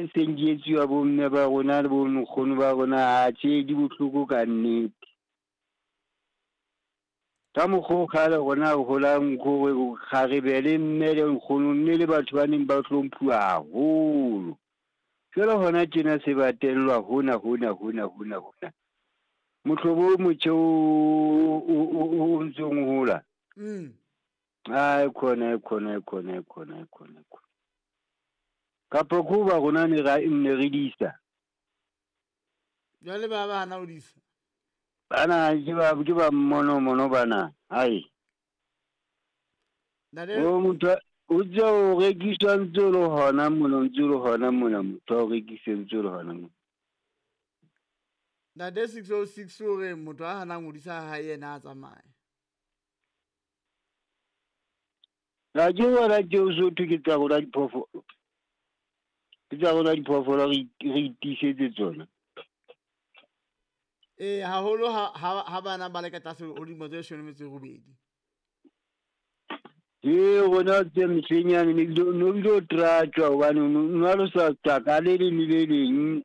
tse seng di etsiwa bomme ba rona le bonkgono ba rona, atjhe di bohloko ka nnete. Ka mokgwa o kgale rona re holang gore kgarebe le mme le nkgono mme le batho ba neng ba hlomphuwa haholo. Jwale hona tjena se ba tellwa hona hona hona hona hona. Mohlobo o motjha o ntsong o hola. Ai khona khona khona khona khona. Kapa ko ba rona ne ra ne re disa. Jwale ba ba hana ho disa. Bana ke ba mmono mono bana. Ai. O motho o tse o rekiswa ntse o le hona mona ntse o le hona mona motho o rekise ntse o le hona mona. Ntate 606 o re motho a hanang ho disa ha yena a tsamaye. La ke wena ke o so thwe ke tsa rona diphoofolo. Ke tsa rona diphoofolo re itisetse tsona. Haholo ha bana ba le ka tlase ho dilemo tse 18. Rona tse mehleng yane ne bile o tratjwa hobane no a losa tsaka le leng le leng.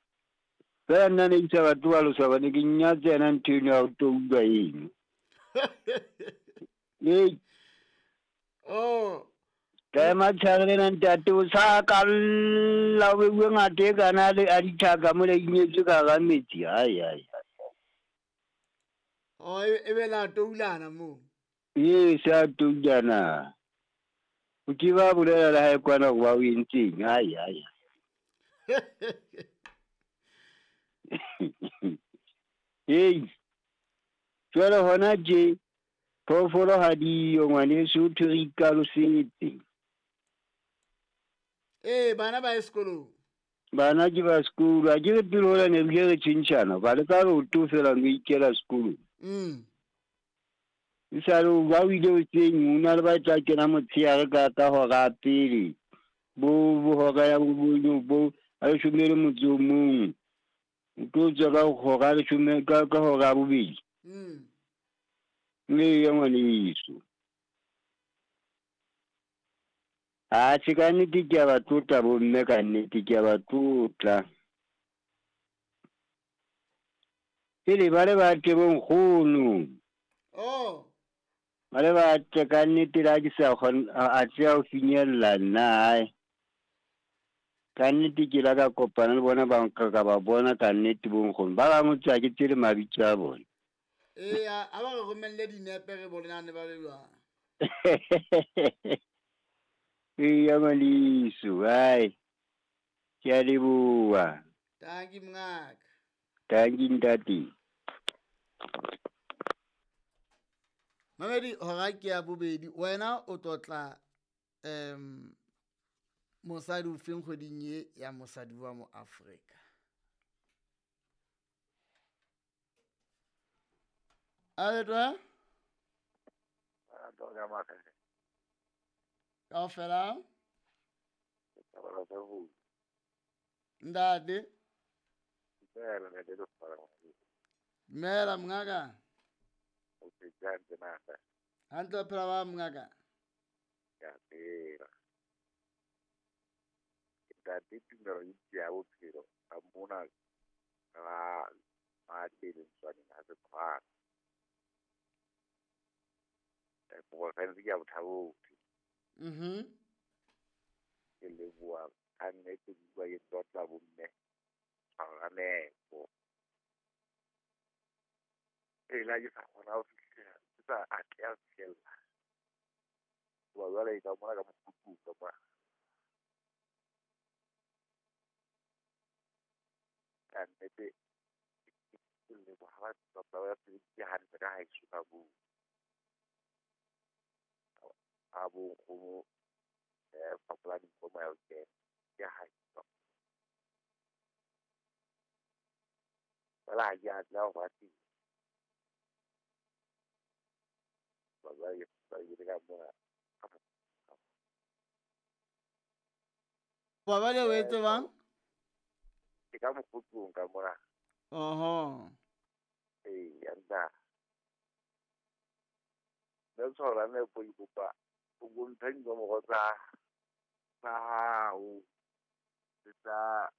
Fela nna ne ke sa batle wa losa hobane ke nyatsa yena ntho eno ya ho toulwa eno. Oh. Ka ema tshare lena ntate o sa kalla o beuwe ngata e kana le a dithaka mola inyetswe ka hara metsi. Ai ai. Oh, e be la toulana moo. Ee, sa toulana. O ke ba bolela le hae kwana hore ba o entseng. Ai ai. Hey. Jwale hona tje phoofolo ha diyo ngwaneso, ho thwe re ikalosetse. Bana ba ye sekolong. Bana ke ba sekolo. Ha ke re pele hola ne re bile re tjhentjhana, ba le ka leoto fela no ikela sekolong. E sale ba o ile hoseng, ho na le ba tla kena motshehare ka hora ya pele. Bo hora ya bo a leshome le motso o mong. O tlo tswa ka hora ya leshome ka hora ya bobedi. Eya ngwaneso. Atjhe ka nnete ke a ba tlotla bomme, ka nnete ke a ba tlotla. Pele ba le batle bonkgono. Oh. Ba le batle ka nnete la ke sa kgona a tseya ho finyella nna hae. Ka nnete ke la ka kopana le bona ba nka ka ba bona ka nnete bonkgono. Ba bangwe tswa ke tsele mabitso a bona. Eya, a ba re romelle dinepe re bonane ba le jwang. Eya ngwaneso, hai. Ke a leboha. Tanki mongaka. Tanki ntate. Mamedi hora ke ya bobedi, wena o tlotla mosadi o feng kgweding ye ya mosadi wa mo Afrika? A le twa? Kaofela? Ntate. Dumela mongaka. Hantle o phela ba mongaka? Ntate tumelo e ya bophelo ka mona ga ma tele ntswaneng ha se tshwana. Porofense ke ya Botha-Bothe. Ke leboha ka nnete ke utlwa ke tlotla bomme tshwaranepo. Ela ke sa kgona ho fihlela, ke sa atleha ho fihlella. Hoba jwale e ka mona ka mokhukhung ka mona. Ka nnete ke leboha ba ba sebeditse hantle ka haeso ka moo. A bo nkgono fapola dinko moya o kena ke haeso. Fela ha ke atleha ho ba teng. Ba jwale ka mona. Ba bale o etse bang? Ke ka mokhukhung ka mona. Oho. Eya nna. Nne tshwara nepo ke kopa o bontshe dinomoro tsa hao le tsa